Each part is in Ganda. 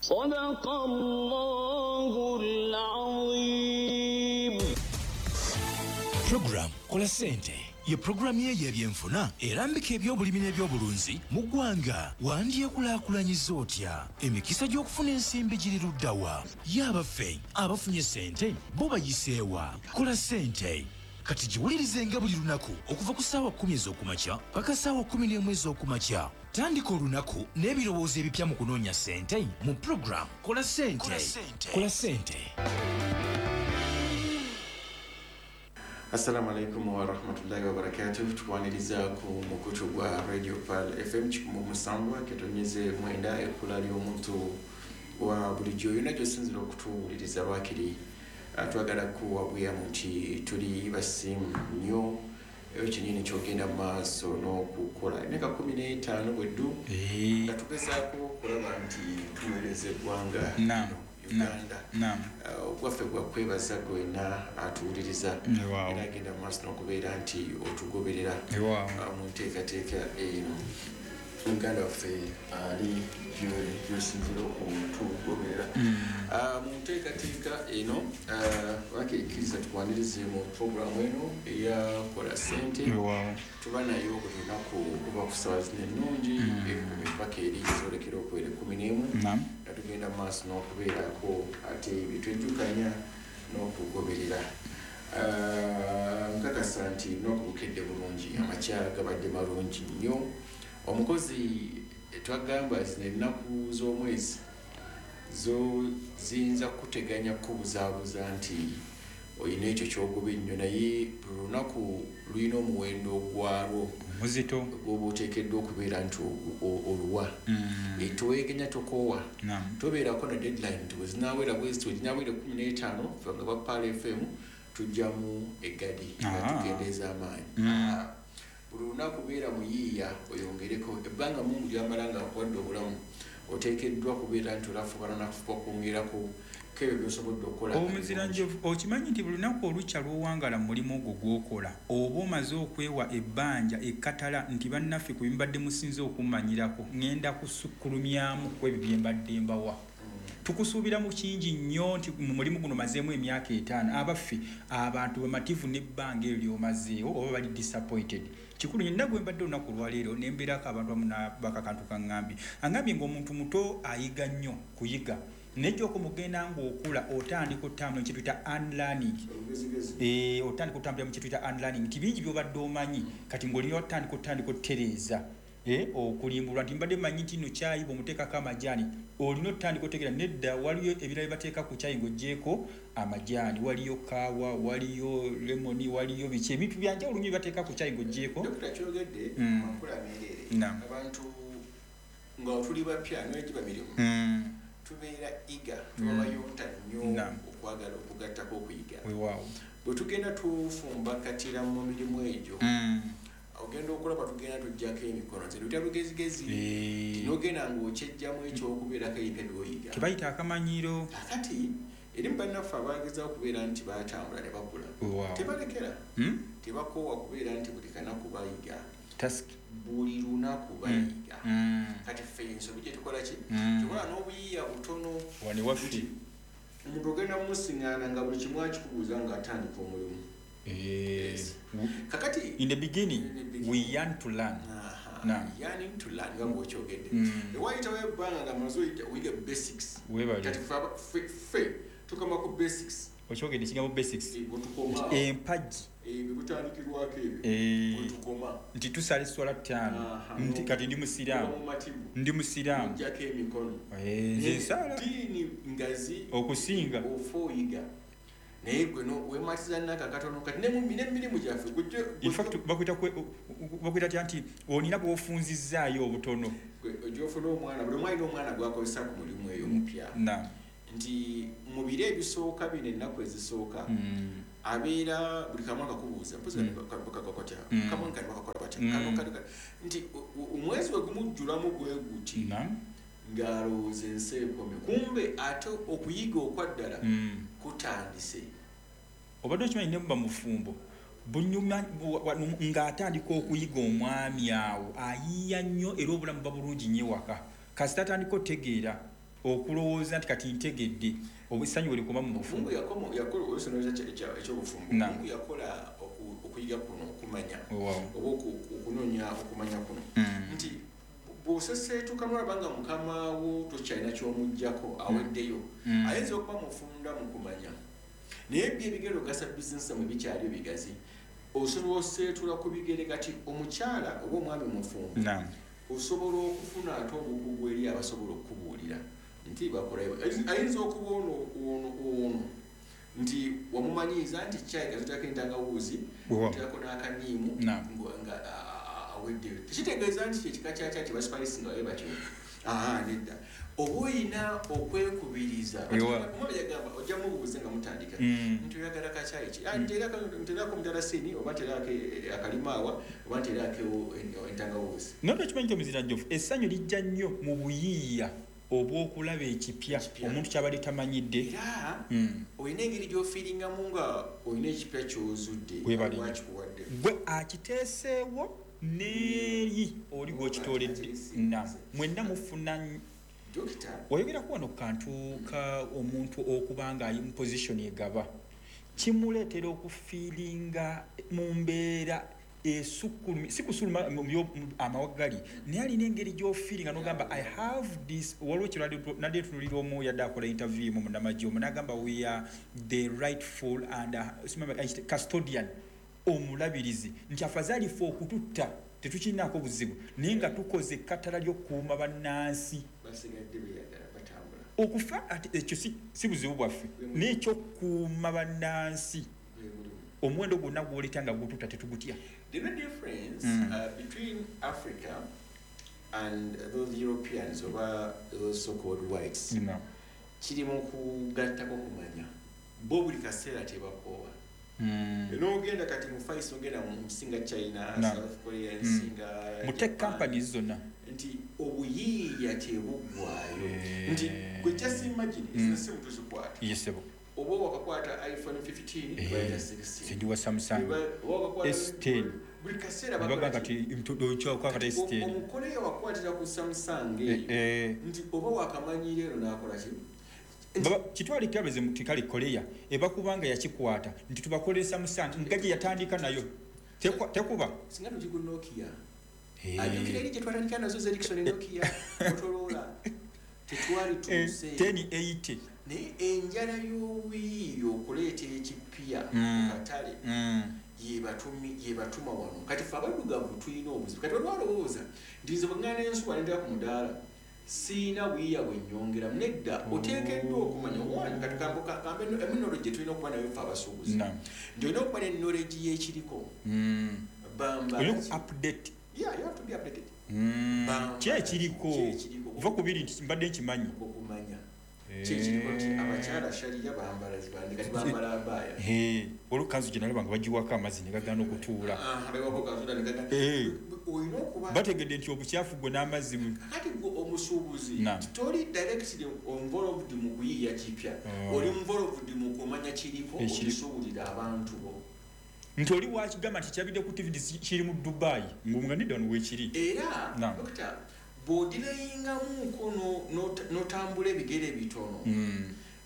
صدق الله العظيم. Program Kola Ssente ye puroguramu ye y'ebyenfuna erambika ebyobulimi n'ebyobulunzi mu ggwanga. Wandyekulaakulanyiza otya? Emikisa gy'okufuna ensimbi giri luddawa? Ye abaffe abafunye ssente bo bayiseewa? Kola Ssente kati giwulirizenga buli lunaku okuva ku ssaawa 10 ez'okumakya paka ssaawa 11 ez'okumakya. Tandika olunaku n'ebirowoozo ebipya mu kunoonya ssente mu program Kola Ssente. Kola Ssente. Assalamu alaikum warahmatullahi wabarakatuh. Tukwaniriza ku mukutu gwa Radio Pearl FM 107.9, ekkula ly'omuntu wa bulijjo. Yonna gy'osinzira okutuwuliriza, lwakiri twagala kuwa bweyamu nti tuli basiimu nnyo eyo kyenyini kyogenda mu maaso n'okukola emyaka 15 bweddu nga tugezaako okulaba nti tuweereza eggwanga Uganda. Ogwaffe gwa kwebaza gwena atuwuliriza era agenda mu maaso n'okubeera nti otugoberera mu nteekateeka eno. Muganda waffe ali gyosinzira okutugoberera mu nteekateeka eno, wakekkiriza tukwanirize mu puroguramu eno eyakola Ssente. Tuba nayo buli lunaku okuva ku ssaawa zino ennungi 10 paka eri zolekera okubeera 11, nga tugenda mu maaso n'okubeerako ate byetwejjukanya n'okugoberera. Nkakasa nti n'okubukedde bulungi, amakya gabadde malungi nnyo. Omukozi twagamba zino ennaku z'omwezi zo ziyinza kuteganya kukubuzaabuza nti olina ekyo kyogoba ennyo, naye buli lunaku lulina omuwendo gwalwo omuzito gwoba oteekeddwa okubeera nti oluwa. Towegenya, tokoowa, tobeerako na deadline nti bwezinawera bweziti, weginawera 15, fe nga ba Pearl FM tujjamu eggadi nga tukendeeza amaanyi. Buli lunaku beera muyiiya, oyongereko ebbanga Mungu lyamala nga akuwadde obulamu. Oteekeddwa kubeera nti olafubana nakufuba okwongerako kebyo byosobodde okukola. Omuziranjovu, okimanyi nti buli lunaku olukya lw'owangala mu mulimu ogwo gw'okola, oba omaze okwewa ebbanja ekkatala nti bannaffe ku bimbadde musinze okummanyirako, ŋŋenda kusukkulumyamu ku ebyo bye mbadde mbawa. Tukusuubira mu kingi nnyo nti mu mulimu guno mazeemu emyaka 5. Abaffe, abantu bamativu n'ebbanga eryo ly'omazeewo oba bali disappointed? Kikulu nnyo. Nina gwe mbadde olunaku olwaleero ne mbeerako abantu abamu n'abakakantu kaŋŋambye, aŋŋambye ng'omuntu muto ayiga nnyo kuyiga, naye gy'okomugenda ng'okula otandika otambula mu kyetuyita unlearning. Otandika otambulira mu kyetuyita unlearning, nti bingi by'obadde omanyi kati ng'olina otandika otereeza, okulimbulwa nti mbadde manyi nti nno kyayi bw'omuteekako amajaani, olina otandika otegeera nedda, waliyo ebirala bye bateeka ku kyayi ng'oggyeeko amajaani, waliyo kaawa, waliyo lemoni, waliyo biki, ebintu byanjawulo nnyo bye bateeka ku kyayi ng'oggyeeko. Dokita, kyogedde makula meereere. Abantu nga tuli bapya negiba mirimu, tubeera eager, tuba bayonta nnyo okwagala okugattako okuyiga. Bwe tugenda tufumbakatira mu mirimu egyo, ogenda okulaba tugenda tujjako emikono, nze lutya lugezigezi, nogenda ng'okyejjamu ekyokubeerako ebipya byoyiga. Kebayita akamanyiro. Kakati eri mu bannaffe abagezaho okubeera nti batambula ne bakula, tebalekera, tebakoowa kubeera nti buli kanaku bayiga, buli lunaku bayiga. Kati ffe ensobi gye tukola ki? Tukola n'obuyiiya butono. Wano waffe. Omuntu ogenda mumusiŋŋaana nga buli kimu akikubuuza ng'atandika omulimu. Kakati In the beginning, In the beginning. we yearn to learn. Yearning to learn, nga bw'okyogedde, ewayitawo ebbanga nga maze oyiga basics. Weebale. Kati ffe tukoma ku basics. Okyogedde ekigambo basics. Bwetukoma empagi. Ebyo butandikirwako ebyo, bwetukoma. Nti tusala esswala 5, nti kati ndi musiraamu. Tuba mumativu. Ndi musiraamu. Ojjako emikono. Nze nsaala. Diini ngazi okusinga. Ofa oyiga, naye gwe no wematiza naka katono. Kati nemirimu gyaffe In fact, bakwita tya nti olina bw'ofunzizzaayo obutono. Ojja ofuna omwana, buli omu alina omwana gwakozesa ku mulimu eyo mupya, nti mu biro ebisooka bino, ennaku ezisooka, abeera buli kamu akakubuuza mpozi kakakotya, kamu kano bakakola batya, kano kano kano, nti omwezi we gumujjulamu bwe guti ng'alowooza ensi ekomye, kumbe ate okuyiga okwaddala kutandise. Obadde okimanyi ne muba mufumbo bunyuma ng'atandika okuyiga omwami awo ayiiya nnyo, era obulamu buba bulungi nnyo ewaka. Kasita atandika otegeera okulowooza nti kati ntegedde, essanyu we likoma mu bufumbo. Mungu yakola osonooza ekyobufumbo. Na. Mungu yakola okuyiga kuno, okumanya oba okunoonya okumanya kuno, nti bw'oseseetuka nolaba nga mukama wo tokyalina ky'omuggyako, aweddeyo. Ayinza okuba mufunda mu kumanya, naye byo ebigere ogasa bizinesi mwe bikyali bigazi, osobola oseetula ku bigere. Kati omukyala oba omwami mufumbo, osobola okufuna ate obukugu eri abasobola okukubuulira nti bakola. Ayinza okuba ono ono ono nti wamumanyiiza nti kyayi kazitako entangawuuzi, oteekako n'akaniimu, nga aweddeyo. Tekitegeeza nti kyekika kyakya kyebaspice nga babe batyo. Aha, nedda. Oba oyina okwekubiriza. Omwami yagamba ojja mubuuze nga mutandika nti oyagala kakyayi ki? Ah, nteerako omudalasini, oba nteerako akalimaawa, oba nteerako entangawuuzi. Naye tokimanyi nti omuziranjovu essanyu lijja nnyo mu buyiiya obw'okulaba ekipya Ekipya. omuntu kyabadde tamanyidde. Era olina engeri gy'ofiiringamu nga olina ekipya ky'ozudde. Webale. Wakikuwadde. Gwe akiteeseewo n'eri oli gw'okitooledde na mwenna mufuna. Dokita. Wayogerako wano ku kantu ka omuntu okuba nga ali mu position egaba, kimuleetera okufiiringa mu mbeera esukkulumi, si kusuluma mu amawagali, naye alina engeri gy'ofiiringa n'ogamba, "I have this." Waliwo kirwadde tunulira omu yadde akola interview mu munnamagye omu n'agamba, "We are the rightful and simama, custodian," omulabirizi, nti afazaali ffe okututta tetukirinaako buzibu, naye nga tukoze ekkatala ly'okukuuma bannansi. Basigadde beyagala batambula. Okufa ate ekyo si buzibu bwaffe, naye ekyokukuuma bannansi, Gwe mulimu. omuwendo gwonna gwoleta nga gututta tetugutya. The main difference between Africa and those Europeans oba those so-called whites kiri mu kugattako kumanya. Bo buli kaseera tebakoowa. N'ogenda kati mu Far East, ogenda mu nsi nga China, South Korea, ensi nga Mu tech Japan, companies zonna. nti obuyiiya tebuggwayo, nti gwe just imagine ezino simu tuzikwata, Yesebo. oba wakakwata iPhone 15, bayita 16. Sindi wa Samsung. Oba wakakwata S10. Buli kaseera nebaga bakola kati kati S10. Omukoleya wakwatira ku Samsung eyo, nti oba wakamanyira ero n'akola ki? Kitwale kirabeze mu tikale Korea eba kubanga yakikwata nti tubakolere Samsung nga gye yatandika nayo. Tekuba. Singa tugi ku Nokia, ajjukira eri gye twatandika nazo, Ericsson, Nokia, Motorola, tetwali tuuse. 1080. Naye enjala y'obuyiiya okuleeta ekipya mu katale yebatuma wano. Kati ffe abaddugavu tulina obuzibu. Kati waliwo alowooza nti nze bwe ŋŋanda ensuwa nendera ku mudaala siina buyiiya bwe nnyongeramu. Nedda, oteekeddwa okumanya one. Kati kambe emu knowledge gye tulina okuba nayo ffe abasuubuzi, nti olina okuba ne knowledge y'ekiriko. Bamba Olina ku update. Yeah, you have to be updated. Bamba Ki ekiriko? Ki ekiriko? Va ku biri nti mbadde nkimanyi. Okumanya kyekiriko nti abakyala shaliya bambala zibandi, kati bambala abaaya. Olwo kanzu gye nalaba nga bagiwako amazzi ne gagaana okutuula. Ah, bewako kanzuda ne olina okuba Bategedde nti obukyafu gwe n'amazzi Kati gwe omusuubuzi toli directly involved mu kuyiiya kipya, oli involved mu kumanya kiriko, okisuubulira abantu bo. Nti oli wakigamba nti kyabidde ku TV nti kiri mu Dubai, ng'omuga nedda, wano weekiri. Era dokita, bw'odirayingamuko n'otambula ebigere bitono,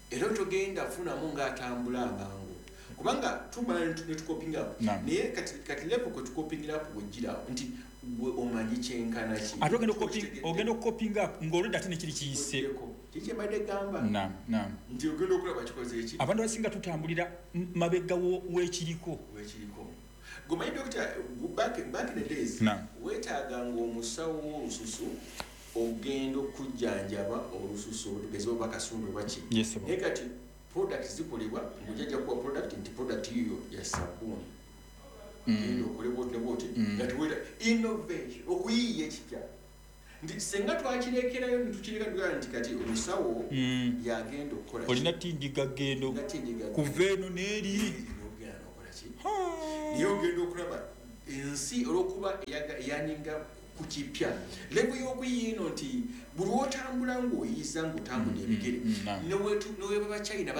era togenda funamu ng'atambula amangu, kubanga tumala ne tukopinga up. Naye kati level kwe tukopingira up bwegirawo nti gwe omanyi kyenkana ki. Ate ogenda okukopinga up ng'olwedde ate nekiri kiyise. Kiki kyembadde gamba, Naam, naam. nti ogenda okulaba kikoze eki. Abantu abasinga tutambulira mabega w'ekiriko. Wekiriko. Gomanyi dokita, back in the days, weetaaganga omusawo w'olususu ogenda okujjanjaba olususu, tugeze oba kasundu oba ki. Yes, sir. Naye kati product zikolebwa ng'ojjajja kuwa product nti product yiyo ya sabbuuni, genda okole bwoti ne bwoti, nga tiweta innovation, okuyiiya ekipya, nti senga twakirekerayo netukireka tugamba nti kati omusawo yagenda okukola ki? Olina tindiga gendo. Olina tindiga. Kuva eno n'eri. N'ogenda n'okola ki, naye ogenda okulaba ensi olwokuba eyaninga ku kipya, level y'okuyiiya eno nti buli wotambula ng'oyiiza ng'otambula ebigere, neweba bachina.